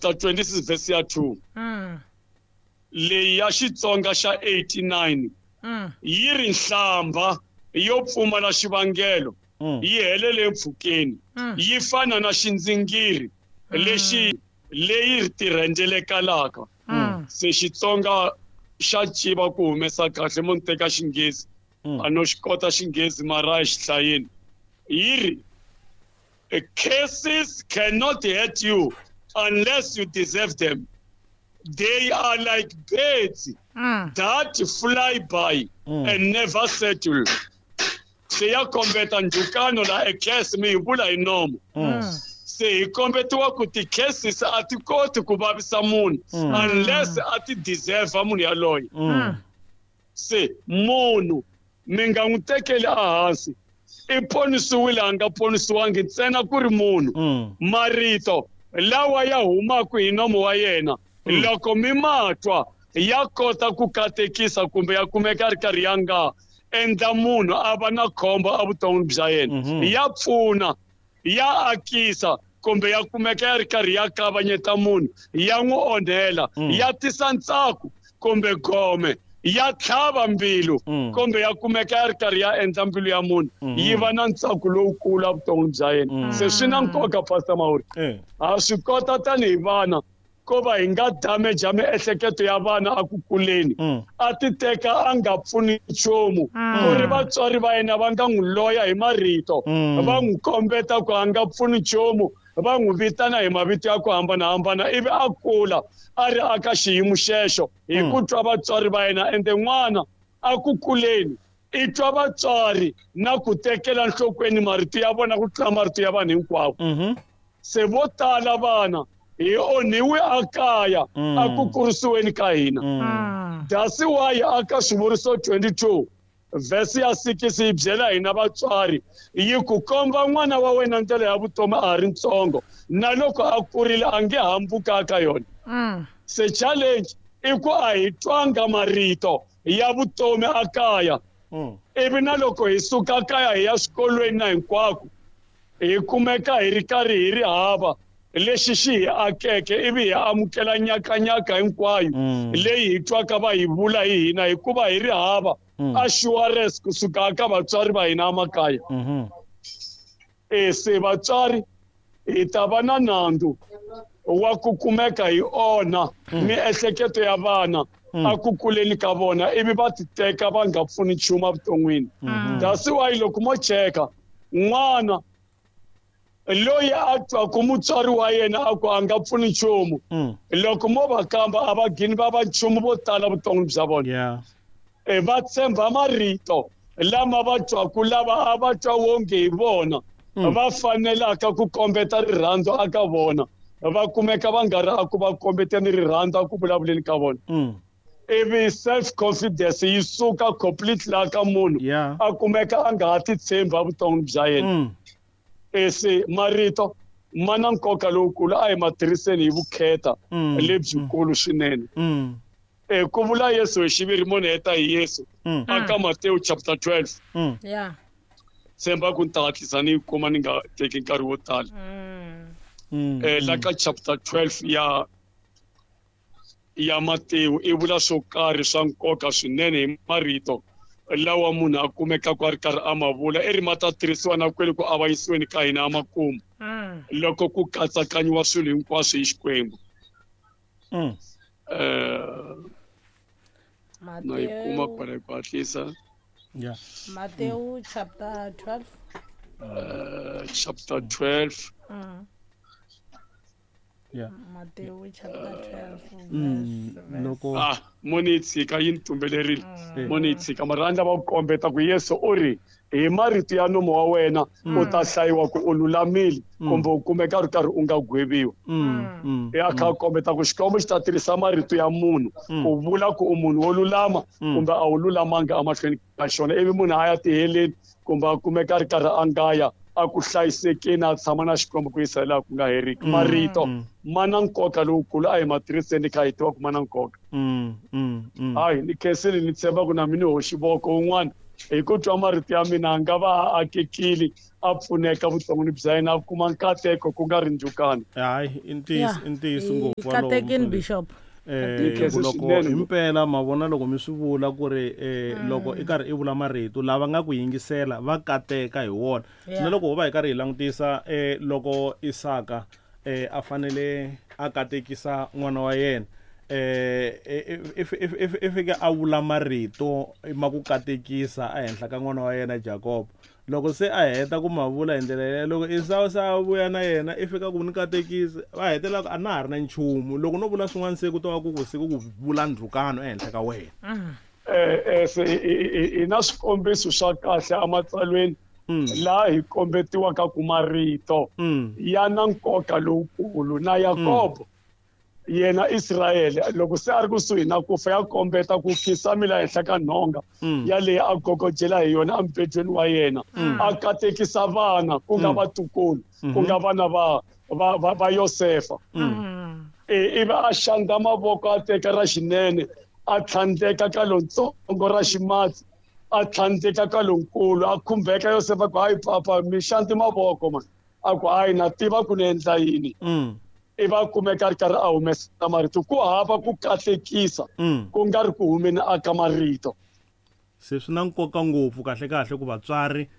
chapter 26 verse ya 2. Leyi ya Xitsonga xa 89 yi ri nhlambha yo pfumala xivangelo yi helele empfhukeni, yi fana na xindzingiri lexi leyi tirhendzelekalaka. Se Xitsonga xa civa ku humesa kahle mo ni teka Xinghezi, a no xi kota Xinghezi mara a xi hlayeni. Yi ri curses cannot hurt you unless you deserve them. They are like birds that fly by and never settle. Se ya kombeta ndzhukano la e curse mi yi vula hi nomo. Se hi kombetiwa ku ti-curses a ti koti ku vavisa munhu unless a ti deserve munhu yaloye. Se munhu mi nga n'wi tekeli ehansi, i ponisiwile a nga ponisiwangi ntsena ku ri munhu. Marito lawa ya humaka hi nomo wa yena loko mi ma twa ya kota ku katekisa kumbe ya kumeka ri karhi ya nga endla munhu a va na khombo evuton'wini bya yena. Ya pfuna, ya akisa kumbe ya kumeka ya ri karhi ya kavanyeta munhu, ya n'wi onhela, ya tisa ntsako kumbe gome, ya tlhava mbilu kumbe ya kumeka ya ri karhi ya endla mbilu ya munhu yi va na ntsako lowukulu evuton'wini bya yena. Se swi na nkoka, Pastor Mauri, ha swi kota tanihi vana ko va hi nga damage miehleketo ya vana a ku kuleni, a ti teka a nga pfuni nchumu, ku ri vatswari va yena va nga n'wi loya hi marito, va n'wi kombeta ku a nga pfuni nchumu, va n'wi vitana hi mavito ya ku hambanahambana, ivi a kula a ri aka xiyimo xexo hi ku twa vatswari va yena. Ende n'wana a ku kuleni i twa vatswari na ku tekela nhlokweni marito ya vona ku tlula marito ya vanhu hinkwavo. Se vo tala vana hi onhiwe a kaya a ku kurisiweni ka hina. That's why aka Swivuriso 22 verse ya 6 yi byela hina vatswari yi ku komba n'wana wa wena ndlela ya vutomi a ha ri ntsongo, na loko a kurile a nge hambuka ka yona. Se challenge i ku a hi twanga marito ya vutomi a kaya, ivi na loko hi suka kaya hi ya swikolweni na hinkwako hi kumeka hi ri karhi hi ri hava lexi xi hi akeke, ivi hi amukela nyakanyaka hinkwayo leyi hi twaka va hi vula hi hina, hikuva hi ri hava assurance kusuka ka vatswari va hina emakaya. Se vatswari hi ta va na nandzu wa ku kumeka hi onha miehleketo ya vana a ku kuleni ka vona, ivi va ti teka va nga pfuni nchumu evuton'wini. That's why loko mo cheka n'wana loyi a twaku mutswari wa yena a ku a nga pfuni nchumu, loko mo va kamba a va gini va va nchumu vo tala vuton'wini bya vona. Va tshemba marito lama va twaku lava a va twa wonge hi vona va fanelaka ku kombeta rirhandzu aka vona, va kumeka va nga ri a ku va kombeteni rirhandzu a ku vulavuleni ka vona. Ivi self confidence yi suka completely la ka munhu, a kumeka a nga ha ti tshembi evuton'wini bya yena. Se marito ma na nkoka lowukulu, a hi ma tirhiseni hi vukheta lebyikulu swinene. Ku vula Yesu hi xiviri, mo ni heta hi Yesu aka Matewu chapter 12. Tshemba ku ni ta hatlisa ni yi kuma ni nga teki nkarhi wo tala. La ka chapter 12 ya Matewu i vula swo karhi swa nkoka swinene hi marito lawa munhu a kumekaka a ri karhi a ma vula, i ri ma ta tirhisiwa na kwele ku avanyisiweni ka hina emakumu loko ku katsakanyiwa swilo hinkwaswo hi Xikwembu. Na yi kuma kwala hi ku hatlisa. Matewu chapter 12. Chapter 12. Matewu chapter 12. Loko mo ni yi tshika yi ni tumbelerile. Mo ni yi tshika mara a ni lava ku kombeta ku Yesu u ri hi marito ya nomo wa wena u ta hlayiwa ku u lulamile kumbe u kumeka ri karhi u nga gweviwi. Ya kha kombeta ku Xikwembu xi ta tirhisa marito ya munhu ku vula ku u munhu wo lulama kumbe a wu lulamanga emahlweni ka xona, ivi munhu a ya tiheleni kumbe a kumeka ri karhi a nga ya a ku hlayisekeni a tshama na Xikwembu ku yisa laha ku nga heriki. Marito ma na nkoka lowukulu, a hi ma tirhiseni kha hi tiva ku ma na nkoka. Hayi ni khensile, ni tshemba ku na mina ni hoxi voko un'wana Hi ku twa marito ya mina a nga va a akekile, a pfuneka vuton'wini bya yena, a kuma nkateko ku nga ri ndzhukano. Hayi, i ntiyiso, i ntiyiso ngopfu walowo, Katekini, mfundhisi. Bishop. Ku loko himpela ma vona loko mi swi vula ku ri loko i karhi i vula marito lava nga ku yingisela va kateka hi wona. Na loko ho va hi karhi hi langutisa loko Isaka a fanele a katekisa n'wana wa yena, i fike a vula marito ma ku katekisa ehenhla ka n'wana wa yena Jacob. Loko se a heta ku ma vula hi ndlela yeleyo, loko Esau se a vuya na yena, i fika ku ni katekisi, va hetelela ku a na ha ri na nchumu. Loko no vula swin'wana se ku ta va ku ku se ku vula ndzhukano ehenhla ka wena. Se hi na swikombiso swa kahle ematsalweni laha hi kombetiwaka ku marito ya na nkoka lowukulu. Na Yakobo yena Israyele loko se a ri kusuhi na ku fa, ya kombeta ku khisamila ehenhla ka nhonga ya leyi a gogojela hi yona emubedweni wa yena, a katekisa vana ku nga vatukulu, ku nga vana va Yosefa. Ivi a xandla mavoko, a teka ra xinene a tlhandleka ka lontsongo, ra ximatsi a tlhandleka ka lonkulu, a khumbeka Yosefa ku hayi papa, mi xandli mavoko man, a ku hayi na tiva ku ni endla yini. I va kumeka ri karhi a humesa marito, ku hava ku katekisa ku nga ri ku humeni aka marito. Se swi na nkoka ngopfu kahle kahle ku vatswari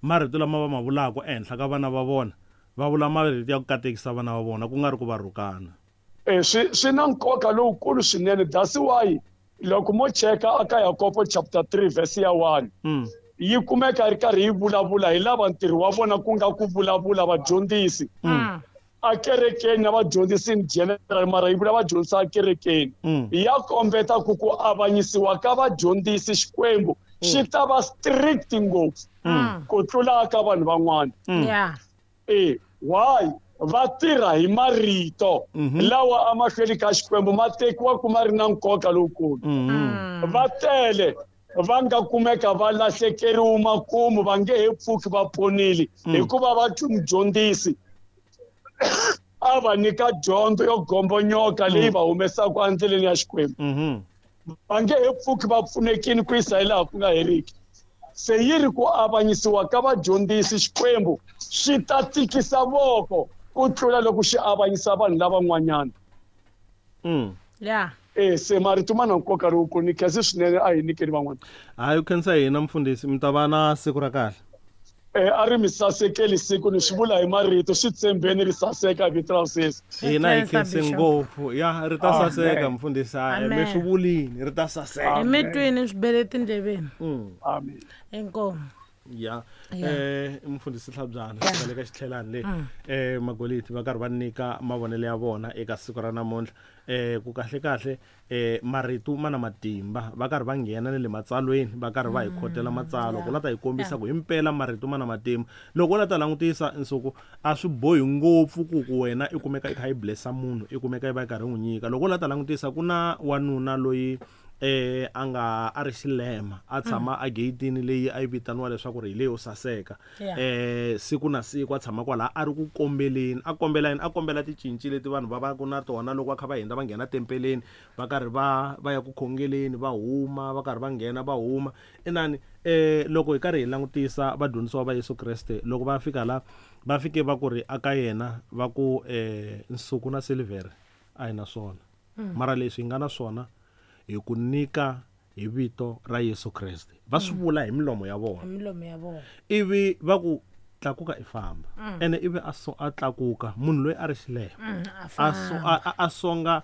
marito lama va ma vulaka ehenhla ka vana va vona, va vula marito ya ku katekisa vana va vona, ku nga ri ku va rhukana. Swi na nkoka lowukulu swinene. That's why loko mo cheka aka Yakobo chapter 3 verse ya 1, yi kumeka ri karhi yi vulavula hi lava ntirho wa vona ku nga ku vulavula vadyondzisi a kerekeni na vadyondzisi in general, mara yi vula vadyondzisi a kerekeni. Ya kombeta ku ku avanyisiwa ka vadyondzisi Xikwembu xi ta va strict ngopfu ku tlula ka vanhu van'wana. Why? Va tirha hi marito lawa emahlweni ka Xikwembu ma tekiwa ku ma ri na nkoka lowukulu. Va tele va nga kumeka va lahlekeriwe makumu, va nge he pfuki va ponile, hikuva va twi mudyondzisi a va nyika dyondzo yo gombonyoka leyi va humesaka endleleni ya Xikwembu. Va nge he pfuki va pfunekile ku yisa hi laha ku nga heriki. Se yi ri ku avanyisiwa ka vadyondzisi Xikwembu xi ta tikisa voko ku tlula loko xi avanyisa vanhu lavan'wanyana. Se marito ma na nkoka lowukulu, ni khensa swinene, a hi nyikeni van'wana. Hayi, u khensa hina mfundhisi, mi ta va na siku ra kahle. A ri mi sasekeli siku, ni swi vula hi marito, swi tshembeni ri saseka hi vito ra Yesu. Hina hi khense ngopfu. Ya, ri ta saseka mfundhisi, mi swi vulini, ri ta saseka. Hi mi twini, swi bele tindleveni. Amen. Inkomu. Ya. Mfundhisi Hlabyana, va le ka xitlhelani le. Magoliti va karhi va nyika mavonelo ya vona eka siku ra namuntlha. Ku kahle kahle marito ma na matimba, va karhi va nghena ni le matsalweni, va karhi va hi khotela matsalwa ku la ta hi kombisa ku himpela marito ma na matimba. Loko u la ta langutisa nsuku, a swi bohi ngopfu ku ku wena i kumeka i kha i blessa munhu, i kumeka i va i karhi i n'wi nyika. Loko u la ta langutisa, ku na wanuna loyi a nga a ri xilema, a tshama a gate-ini leyi a yi vitaniwa leswaku ri hi leyo saseka. Siku na siku a tshama kwalaha a ri ku kombeleni, a kombela yini? A kombela ticinci leti vanhu va va ku na tona loko va kha va hundza va nghena tempeleni, va karhi va ya ku khongeleni, va huma, va karhi va nghena va huma. Inani loko hi karhi hi langutisa vadyondzisiwa va Yesu Kreste loko va fika la, va fike va ku ri aka yena va ku nsuku na silivhere a hi na swona. Mara leswi hi nga na swona hi ku nyika hi vito ra Yesu Kreste. Va swi vula hi milomo ya vona. Hi milomo ya vona. Ivi va ku tlakuka i famba. Ene ivi a so a tlakuka, munhu loyi a ri xilema. A A so, famba. a, a, a songa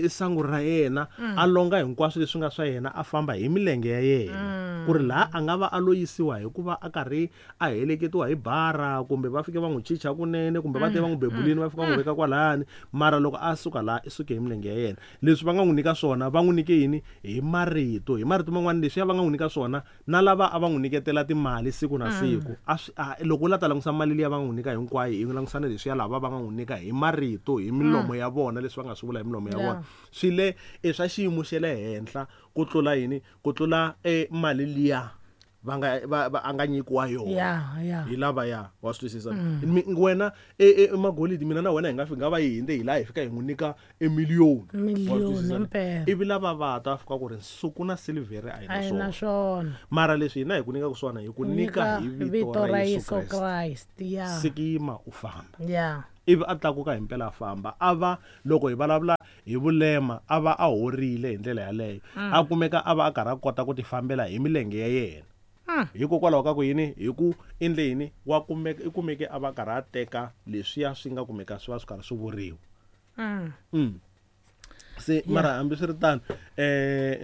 sangu ra yena, a longa hinkwaswo leswi nga swa yena, a famba hi milenge ya yena. Ku ri laha a nga va a lo yisiwa hikuva a karhi a heleketiwa hi bara, kumbe va fike va n'wi chicha kunene, kumbe va te va n'wi bebulini, va fika va n'wi veka kwalani. Mara loko a suka laha, i suke hi milenge ya yena. Leswi va nga n'wi nyika swona, va n'wi nyike yini? Hi marito. Hi marito man'wana leswiya va nga n'wi nyika swona, na lava a va n'wi nyiketela timali siku na siku. A swi, a, loko u la ta langusa mali liya va nga n'wi nyika hinkwayo, hi langusa na leswiya lava va nga n'wi nyika hi marito, hi milomo ya vona, leswi va nga swi vula hi milomo ya vona. Swi le, i swa xiyimo xa le henhla ku tlula yini? Ku tlula, mali liya va nga va a nga nyikiwa yona. Yeah. Hi lava ya wa swi twisisa. Wena magolidi, mina na wena hi nga fika nga va hi hinde hi laha hi fika hi n'wi nyika emiliyoni. Miliyoni impela. Ivi lava va ta fika ku ri nsuku na silivhere a hi A na hi na swona. Swona. Mara leswi hina hi ku nyikaka swona, hi ku nyika hi vito ra Yesu Kreste. Kriste. Yeah. Sikima u famba. Yeah. Ivi a tlakuka hi mpela a famba, a va loko hi vulavula hi vulema a va a horile hi ndlela yaleyo, a kumeka a va a karhi a kota ku ti fambela hi milenge ya yena. Hikokwalaho ka ku yini? Hi ku endle yini? Wa kumeka i kumeke a va karhi a teka leswiya swi nga kumeka swi va swi karhi swi vuriwa. Se mara hambiswiritano,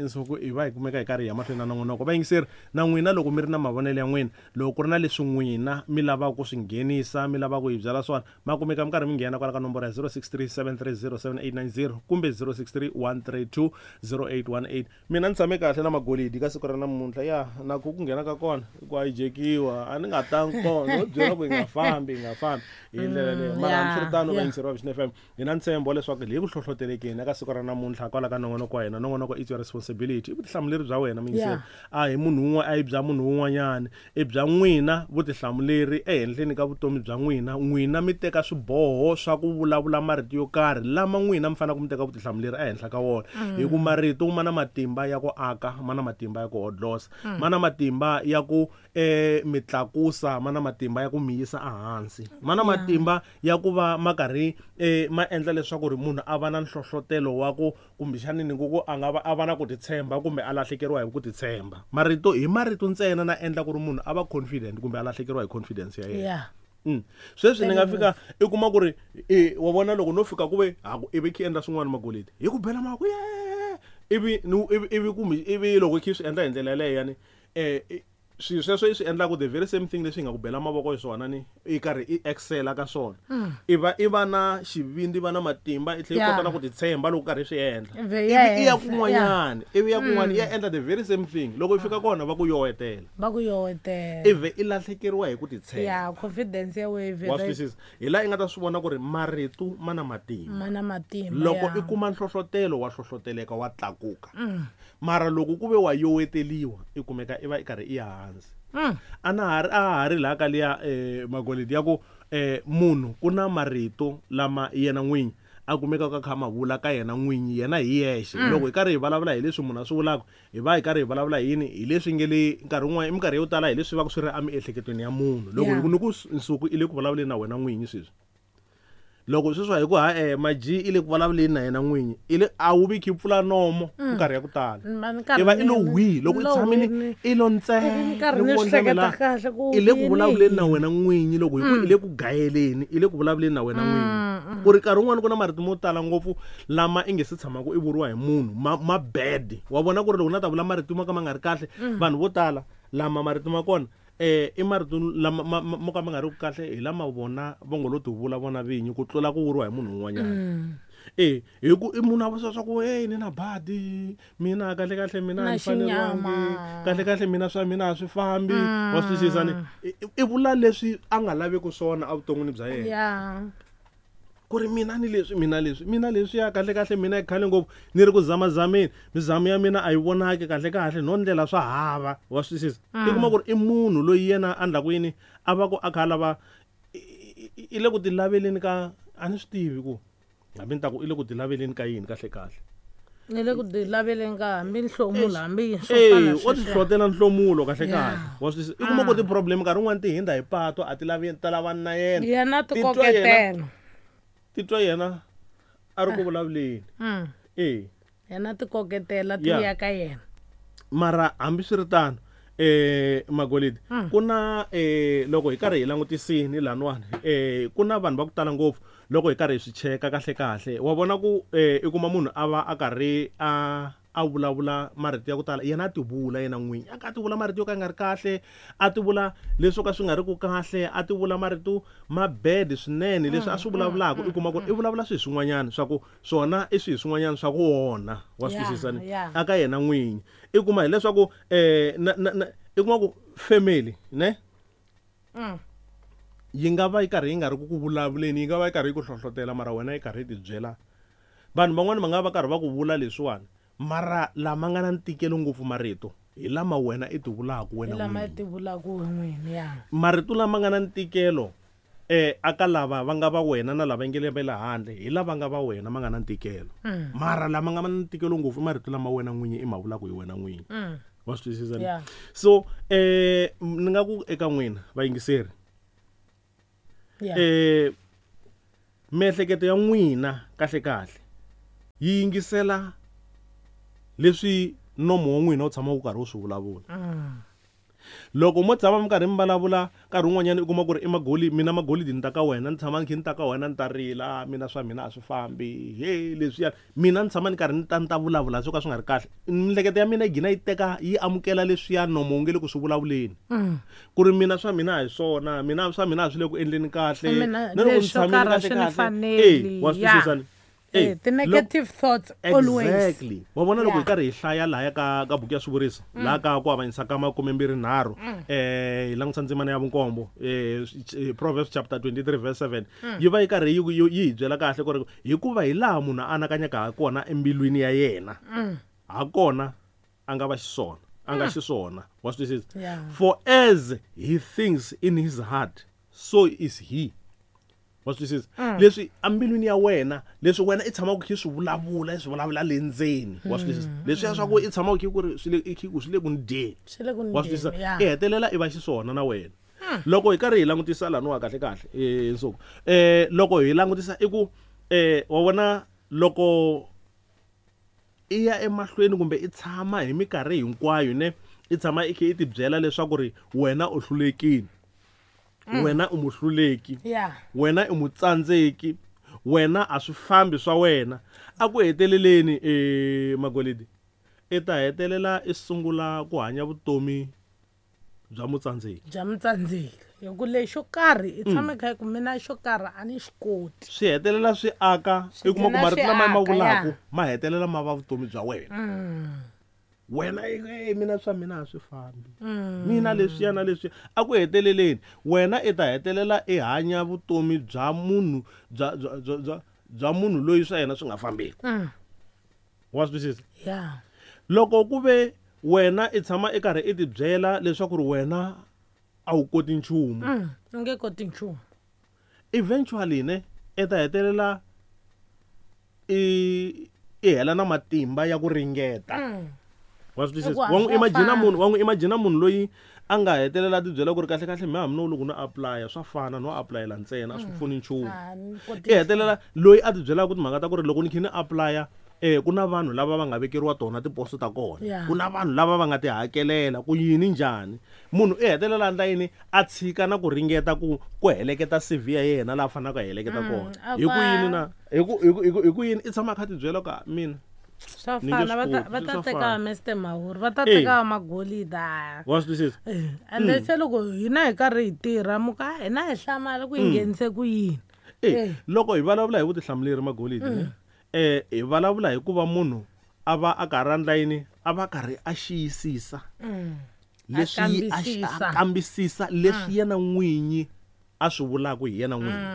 nsuku i va hi kumeka hi karhi hi ya mahlweni na nongonoko. Vayingiseri na n'wina, loko mi ri na mavonelo ya n'wina, loko ku ri na leswi n'wina mi lavaka ku swi nghenisa, mi lavaka ku hi byela swona, ma kumeka mi karhi mi nghena kwala ka nomboro ya 063 730 7890 kumbe 063 132 0818. Mina ni tshame kahle na magolidi ka siku ra namuntlha ya na ku ku nghena ka kona ku a yi jekiwa, a ni nga tangi kona no byela ku hi nga fambi, hi nga fambi hi ndlela leyo. Mara hambiswiritano, vayingiseri va Vision FM, hi na ntshembo wa leswaku hi ku hlohlotelekeni eka siku ra namuntlha kwala ka nongonoko wa hina. Nongonoko it's your responsibility, i vutihlamuleri bya wena muyingiseri. A hi munhu un'we, a hi bya munhu un'wanyana, i bya n'wina vutihlamuleri ehenhleni ka vutomi bya n'wina. N'wina mi teka swiboho swa ku vulavula marito yo karhi lama n'wina mi faneleke mi teka vutihlamuleri ehenhla ka wona, hi ku marito ma na matimba ya ku aka, ma na matimba ya ku hodlosa, ma na matimba ya ku mi tlakusa, ma na matimba ya ku mi yisa ehansi, ma na matimba ya ku va ma karhi ma endla leswaku ri munhu a va na nhlohlotelo wa ku kumbexani ni ku a nga va a va na ku titshemba kumbe a lahlekeriwa hi ku titshemba. Marito hi marito ntsena na endla ku ri munhu a va confident kumbe a lahlekeriwa hi confidence ya yena. Sweswi ni nga fika i kuma ku ri wa vona loko no fika ku ve ha ku ivi khi endla swin'wana magolidi hi ku bela mavoko ye, ivi ivi ivi kumbe ivi loko khi swi endla hi ndlela yaleyo yani, swilo sweswo i swi endlaku the very same thing leswi hi nga ku bela mavoko hi swona, ni i karhi i excela ka swona, i va na xivindzi, va na matimba, i tlhela i kota na ku titshemba loko karhi i swi endla. Ivi ivi ya i ya henhla, kun'wanyani, ivi ya kun'wana i ya endla the very same thing, loko i fika kona va ku yowetela. Va ku yowetela. Ivi i lahlekeriwa hi ku titshemba. Ya, confidence ya wena. Wa swi twisisa? Hi laha i nga ta swi vona ku ri marito ma na matimba. Ma na matimba. Loko i kuma nhlohlotelo, wa hlohloteleka, wa tlakuka, mara loko ku ve wa yoweteliwa, i kumeka i va i karhi i ya hansi. A na ha ri a ha ri laha ka liya magolidi ya ku munhu ku na marito lama yena n'winyi a kumekaka a kha a ma vula ka yena n'winyi, yena hi yexe. Loko hi karhi hi vulavula hi leswi munhu a swi vulaka, hi va hi karhi hi vulavula hi yini? Hi leswi nge le nkarhi wun'wana, i minkarhi yo tala hi leswi va ku swi ri emiehleketweni ya munhu. Loko ni ku nsuku i le ku vulavuleni na wena n'winyi sweswi, loko sweswi hi ku ha maji i le ku vulavuleni na yena n'winyi, i le a wu vi khi pfula nomo minkarhi ya ku tala. Ma ni karhi I va i lo hwi loko i lo tshamile hwi. I lo ntsena. Ni karhi ni ni ku swi vona hleketa la, kahle ku i le ku yini vulavuleni na yini. wena n'winyi. Loko hi ku i le ku gayeleni, i le ku vulavuleni na wena n'winyi, ku ri nkarhi wun'wani ku na marito mo tala ngopfu lama i nge se tshamaka i vuriwa hi munhu ma bad. Wa vona ku ri loko na ta vula marito mo ka ma nga ri kahle, vanhu vo tala lama marito ma kona i marito lama mo ka ma nga ri ku kahle, hi lama vona va ngo lo ti vula vona vinyi ku tlula ku vuriwa hi munhu un'wanyana. Hi ku i munhu a vula swa ku hey, ni na badi mina, kahle kahle mina a Na ni faneriwangi, xinyama. Kahle kahle mina swa mina a swi fambi. Wa swi twisisa? Ni i vula leswi a nga laveki swona evuton'wini bya yena, ku ri mina ni leswi, mina leswi, mina leswiya, kahle kahle mina i khale ngopfu ni ri ku zamazameni, mizamo ya mina a yi vonaki, kahle kahle no ndlela swa hava. Wa swi twisisa? I kuma ku ri i munhu loyi yena a ndlaku yini, a va ku a kha a lava i le ku ti laveleni ka, a ni swi tivi ku hambi ni ta ku i le ku ti laveleni ka yini kahle kahle. Ni le ku ti laveleni ka hambi nhlomulo, hambi yini swo e fana o ti sweswiya. hlotela nhlomulo kahle kahle. Wa swi twisisa? I kuma ku ti-problem nkarhi wun'wani ti hindza hi pato, a ti lavi ta lavani na yena. Yena Titwa yena. tikoketela. Titwa yena a ri ku vulavuleni. E Yena tikoketela ti vuya ka yena. Mara hambiswiritano, magolidi, ku na loko hi karhi hi langutisini laniwani, ku na vanhu va ku tala ngopfu loko hi karhi hi swi cheka kahle kahle, wa vona ku i kuma munhu a va a karhi a vulavula marito ya ku tala, yena a ti vula yena n'winyi, a ka a ti vula marito yo ka ya nga ri kahle, a ti vula leswo ka swi nga ri ku kahle, a ti vula marito ma bad swinene. Leswi a swi vulavulaka, i kuma ku ri i vulavula swilo swin'wanyana swa ku swona i swilo swin'wanyana swa ku onha. Wa swi twisisa? Ni aka yena n'winyi i kuma hileswaku na i kuma ku family ne yi nga va yi karhi yi nga ri ku ku vulavuleni, yi nga va yi karhi yi ku hlohlotela, mara wena yi karhi yi ti byela. Vanhu van'wani va nga va karhi va ku vula leswiwani, mara lama nga na ntikelo ngopfu marito Hi lama wena i ti vulaka wena lama n'wini. Ti vulaka we n'wini, ya. Marito lama nga na ntikelo aka lava va nga va wena na lava nge le va le handle, hi lava nga va wena ma nga na ntikelo. Mara lama nga na ntikelo ngopfu i marito lama wena n'winyi i ma vulaka hi wena n'winyi. Wa swi twisisa ni? Yeah. So ni nga ku eka n'wina vayingiseri, miehleketo ya n'wina kahle kahle yi yingisela leswi nomo wa n'wina wu tshama wu karhi wu swi vulavula. Loko mo tshama mi karhi mi vulavula nkarhi wun'wanyana u kuma ku ri i magoli, mina magolidi ni ta ka wena, ni tshama ni kha ni ta ka wena ni ta rila, mina swa mina a swi fambi, he leswiya, mina ni tshama ni karhi ni ta ni ta vulavula swo ka swi nga ri kahle, miehleketo ya mina yi gina yi teka yi amukela leswiya nomo wu nge le ku swi vulavuleni, ku ri mina swa mina a hi swona, mina swa mina a swi le ku endleni kahle, Mina na loko ni leswo tshamile karhi a kahle swi ni kahle, faneli, wa swi ya. twisisa ni? Ti-negative thoughts always. Exactly. Wa vona loko hi Yeah. karhi hi hlaya lahaya ka buku ya swivuriso, laha ka ku avanyisa ka 23, hi langutisa ndzimana ya vunkombo, Proverbs chapter 23 verse 7, yi va yi karhi yi hi byela kahle ku ri hikuva hi laha munhu a anakanyaka ha kona embilwini ya yena, ha kona a nga va xiswona, a nga xiswona. Wa swi twisisa? Yeah. For as he thinks in his heart, so is he. Wa swi twisisa? Leswi embilwini ya wena, leswi wena i tshamaka kha i swi vulavula, i swi vulavula le ndzeni. Wa swi twisisa? Leswiya swa ku i tshamaka kha ku ri swi le, i kha ku swi le ku ni dyeni. Swi le ku ni Wa swi twisisa? dyeni, ya. I hetelela i va xiswona na wena. Loko hi karhi hi langutisa laniwa kahle kahle, Nsuku. Loko hi langutisa i ku, wa vona loko i ya emahlweni kumbe i tshama hi minkarhi hinkwayo ne, i tshama i kha i tibyela leswaku ri wena u hlulekile. Wena u muhluleki. Wena i mutsandzeki. Wena a swi fambi swa wena. A ku heteleleni, Magolidi, i ta hetelela i sungula ku hanya vutomi bya mutsandzeki. Bya mutsandzeki. Hi ku lexo karhi i tshame kha ku mina xo karhi a ni xi koti. Swi hetelela swi aka, Swi i kuma ku gcina marito swi lama ma aka, vulaka, ya. ma hetelela ma va vutomi bya wena. Wena mina swa mina a swi fambi. Mina leswiya na leswiya. A ku heteleleni, wena i ta hetelela i hanya vutomi bya munhu, bya, bya, bya, bya, bya munhu loyi swa yena swi nga fambeki. Wa swi twisisa? Loko ku ve wena i tshama i karhi i tibyela leswaku ri wena a wu koti nchumu. U nge koti nchumu. Eventually ne, i ta hetelela i hela na matimba ya ku ringeta. Wa swi twisisa? Hikuva Wa n'wi swa imagine fana. munhu, wa n'wi imagine munhu loyi a nga hetelela a tibyela ku ri kahle kahle mehe hambi no loko no apply-a swa fana, no apply-ela ntsena, a swi pfuni nchumu. A ni koti I hetelela loyi a tibyelaka timhaka ta ku ri loko ni kha ni apply-a, ku na vanhu lava va nga vekeriwa tona tiposo ta kona. Ku na vanhu lava va nga ti hakelela ku yini njhani. Munhu i hetelela a endla yini, a tshika na ku ringeta ku heleketa CV ya yena laha a faneleke a heleketa kona. A Hi ku yini va na, hi ku, hi ku, hi ku, hi ku yini i tshama a kha a tibyela ku, mina Swa Ni nge fana, swi koti, va ta swa teka fana. Mister Mawuri, va ta teka Magolida. Wa swi twisisa? And then se loko hina hi karhi hi tirha, muka hina hi hlamala ku hi nghenise ku yini. Loko hi vulavula hi vutihlamuleri Magolidi, ne? Hi vulavula hi ku va munhu a va a karhi a endla yini, a va karhi a xiyisisa. Leswi A a kambisisa. a kambisisa leswi yena n'winyi a swi vulaka hi yena n'winyi.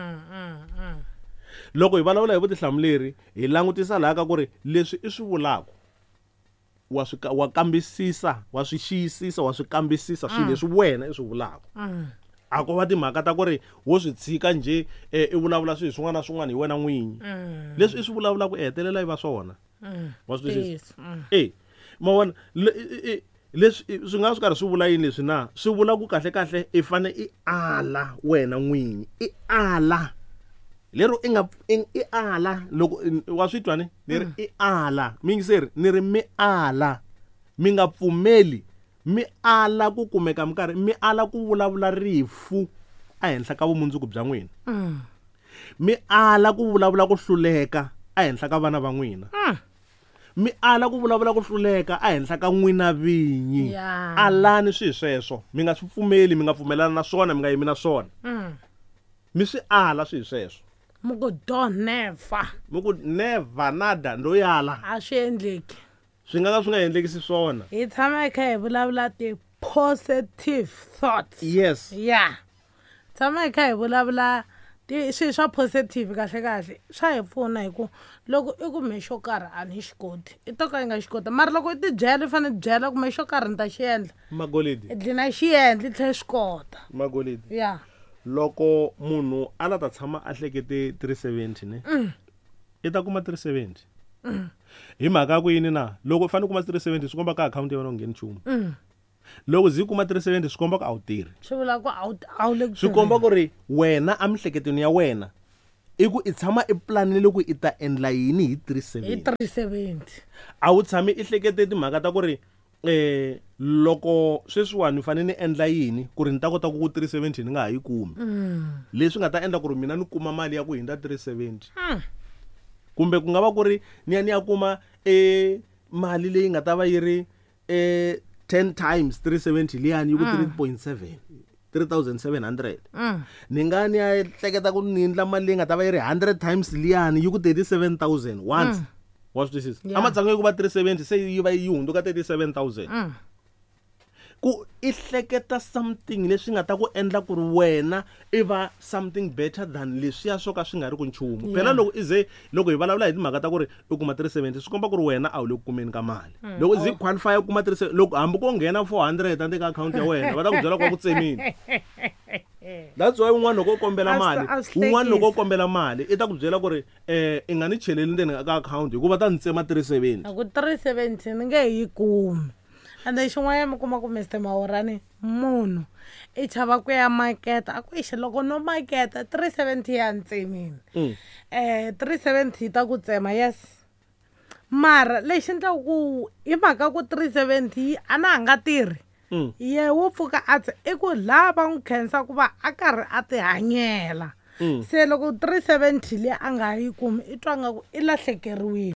Loko hi vulavula hi vutihlamuleri, hi langutisa laha ka ku ri leswi i swi vulaka, wa swi wa kambisisa, wa swi xiyisisa, wa swi kambisisa swilo leswi wena i swi vulaka. A ko va timhaka ta ku ri wo swi tshika njhe, i vulavula swilo swin'wana na swin'wana hi wena n'winyi. Leswi i swi vulavulaka i hetelela i va swona. Wa swi twisisa? Yes. Ma vona, leswi swi nga swi karhi swi vula yini leswi na? Swi vula ku kahle kahle i fane i ala wena n'winyi, i ala. Lero i nga i ala loko wa swi twa ni? Ni ri i ala. Miyingiseri, ni ri mi ala. Mi nga pfumeli, mi ala ku kumeka minkarhi, mi ala ku vulavula rifu ehenhla ka vumundzuku bya n'wina. Mi ala ku vulavula ku hluleka ehenhla ka vana va n'wina. Mi ala ku vulavula ku hluleka ehenhla ka n'wina vinyi. Alani swi sweswo. Mi nga swi pfumeli, mi nga pfumelana na swona, mi nga yimi na swona. Mi swi ala swi sweswo. Mi ku don't never. Mi ku never nada ndo yala. A swi endleki. Swi nga ka swi nga endlekisi swona. Hi tshama hi kha hi vulavula ti positive thoughts. Yes. Yeah. Tshama hi kha hi vulavula Ti swilo swa positive kahle kahle swa hi pfuna hi ku loko i ku me xo karhi a ni xi koti i to ka i nga xi koti mara loko i ti byela i fanele i byela ku me xo karhi ni ta xi endla Magolidi i dlina xi endla i tlhela i swi kota. Magolidi Ya. Loko munhu a la ta tshama a hlekete 370 ne i ta kuma 370 hi mhaka ya ku yini na loko u fanele u kuma 370 swi komba ka akhawunti ya wena u ngheni nchumu loko zi kuma 370 swi komba ku a wu tirhi Swi vula ku a wu a wu le ku swi komba tirheni. ku ri wena emihleketweni ya wena i ku i tshama i planile ku i ta endla yini hi Hi 370 370. A wu tshami i hlekete timhaka ta ku ri loko sweswiwani ni fanele ni endla yini ku ri ni ta kota ku ku 370 ni nga ha yi kumi leswi nga ta endla ku ri mina ni kuma mali ya ku hundza 370 kumbe ku nga va ku ri ni ya ni ya kuma e mali leyi nga ta va yi ri 10 times 370 liyani yi ku 3.7 3700 ni nga ni ya hleketa ku ni endla mali leyi nga ta va yi ri 100 times liyani yi ku 37000 once wa swi twisisa Yeah. ematshan'wini ya ku va 370 se yi va yi hundzuka 37000 ku i hleketa something leswi nga ta ku endla ku ri wena i va something better than leswiya swo ka swi nga ri ku nchumu phela loko i ze loko hi vulavula hi timhaka ta ku ri u kuma 370 swi komba ku ri wena a wu le ku kumeni ka mali loko i ze i qualify ku kuma 370 loko hambi ko nghena 400 endzeni ka akhawunti ya wena va ta ku byela ku va ku tsemile that's why un'wana loko u kombela A swi- mali a swi un'wana loko u hlekisa. kombela mali i ta ku byela ku ri i nga ni cheleli ndzeni ka akhawunti hikuva ta ni tsema 370 A ku 370 ni nge he yi kumi ende xin'wanyana mi kuma ku Mr Mawurani munhu i chava ku ya maketa a ku exi loko no maketa 370 ya ni tsemile 370 yi ta ku tsema yes mara lexi endlaku ku hi mhaka ku 370 yi a na ha nga tirhi ye wo pfuka a tse i ku laha va n'wi khensa ku va a karhi a ti hanyela se loko 370 liya a nga yi kumi i twa nga ku i lahlekeriwile.